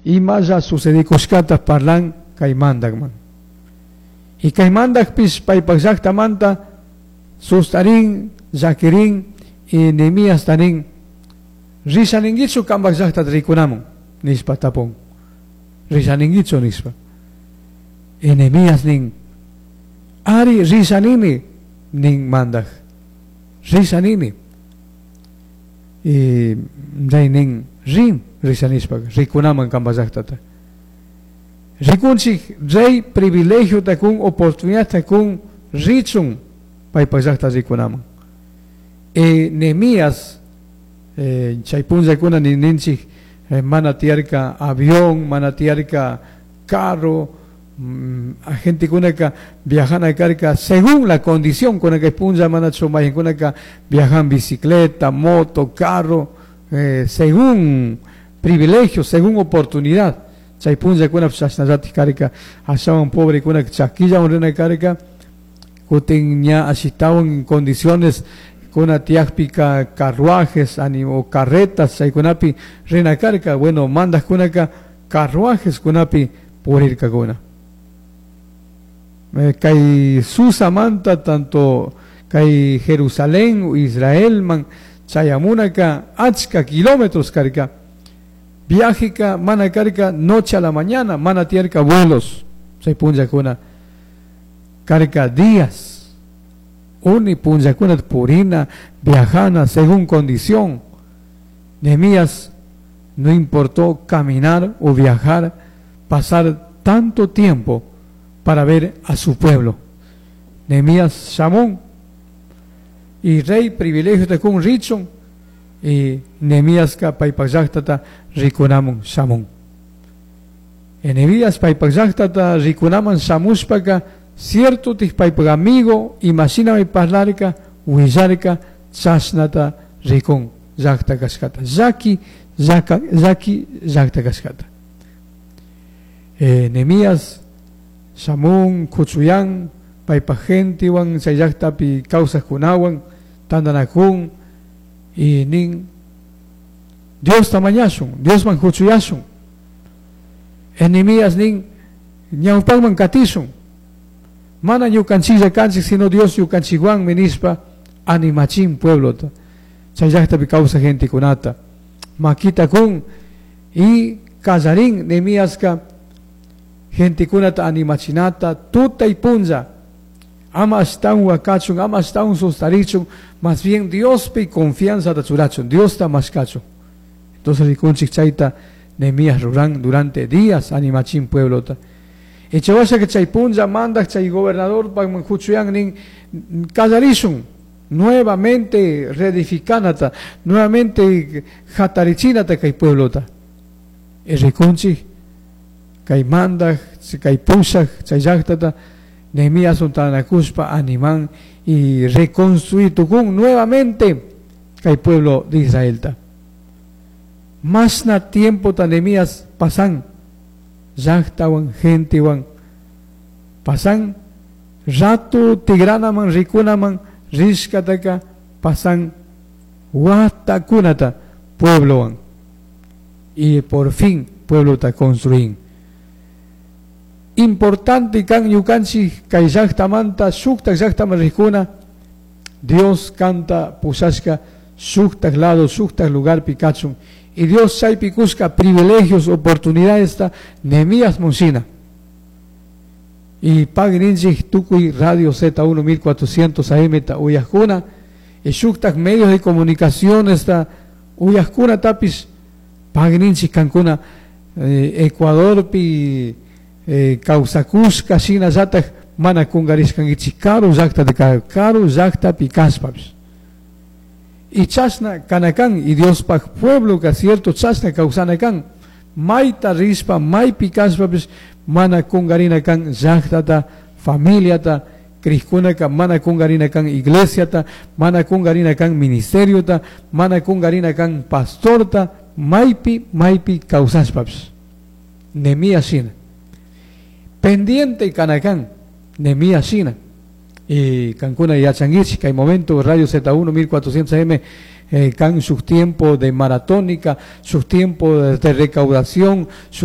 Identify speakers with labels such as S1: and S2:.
S1: Imalla sucedikushkata parlan kay mandakman. Y kay mandakpish paypak llaktamanta sustarin, llakirin y Nehemías tanin risha ninguichu kampak llaktata rikunamun nishpa tapun. Risha ninguichu nishpa. Y Nehemías nin ari risha nini nin mandak. Risha nini. Y rey nin rin risha nishpa rikunaman kampak llaktata. Rikunchik rey privilegio kun oportunidad kun richun paypak llakta rikunaman. E Nehemías chay punllakuna ninchik mana tiyarka avión, mana tiyarka carro, gentekunaka viajana karka según la condición con que punlla mana chumaykunaka viajan bicicleta, moto, carro, según privilegio, según oportunidad. Chay punllakuna chashnallatik karka, ashawan pobrekuna chakillawan rina karka, kutin ña ashitawan en condiciones kuna tiyakpika carruajes, animo carretas, chaykunapi rina karka, bueno, mandajkunaka carruajes kunapi purirkakuna. Kay Susamanta tanto kay Jerusalén, Israel man chayamunaka achka kilómetros karka. Viajeka mana karka noche a la mañana, mana tiyarka vuelos, chay punllakuna karka días. Uni punllakuna purina, viajana según condición. Nehemías no importó caminar o viajar, pasar tanto tiempo para ver a su pueblo. Nehemías shamun y rey privilegio de kun richun y Nehemías ka paypak llaktata rikunamun shamun. Nehemías paypak llaktata rikunaman shamushpaka cierto tic paypak amigo imashinami parlarka willarka chashnata rikun llakta kashkata llaki llaka llaki llakta kashkata. Nehemías shamun kuchuyan paypak gentewan chay llaktapi kawsajkunawan tandanakun y nin Diosta mañashun, Diosman kuchuyashun. Nehemías nin ñawpakman katishun. Mana ñukanchilla kanchik sino Dios ñukanchikwanmi nishpa animachin pueblota. Chay llaktapi kawsaj gentekunata. Makita kun y kallarin Nehemiaska gentekunata animachinata tuta y punlla. Ama ashtawan wakachun, ama ashtawan sustarichun, más bien Diospi confianza ta churachun, Diosta mashkachun. Entonces rikunchik chayta Nehemías ruran durante días animachin pueblota. Y chawasha que chay punlla mandak chay gobernador pagman huchuyan nin kallarishun nuevamente reedificanata, nuevamente jatarichinata kay pueblota. Y rikunchik kay mandak, kay pushak, chay llaktata Nehemías untanakuspa animan y reconstruir tukun nuevamente kay pueblo de Israelta. Masna tiempo ta Nehemías pasan llaktawan gentewan pasan rato tigranaman rikunaman rishkataka pasan watakunata pueblowan y por fin pueblota construin. Importante kan ñukanchik kay llaktamanta shuktak llaktaman rikuna Dios kanta pushashka shuktak lado shuktak lugarpi kachun y Dios chaypi kushka privilegios oportunidades ta Nehemías munshina. Y pagrinchik tukuy Radio Z1 1400 AM ta uyajkuna y shuktak medios de comunicación ta uyajkuna tapis pagrinchik kankuna Ecuadorpi kawsakushka shinallatak mana kungarishkankichik karu llaktata karu llaktapi kashpapish. Y chashna kanakan y Diospaj pueblo ka cierto chashna kawsana kan mayta rishpa maypi kashpapish mana kungarina kan llaktata familiata krikkunaka mana kungarina kan iglesiata mana kungarina kan ministeriota mana kungarina kan pastorta maypi maypi kawsashpapish. Nehemías shina pendiente kanakan Nehemías shina. Y kankuna yachankichik kay momento Radio Z1 1400 AM kan shuk tiempo de maratónica, shuk tiempo de recaudación,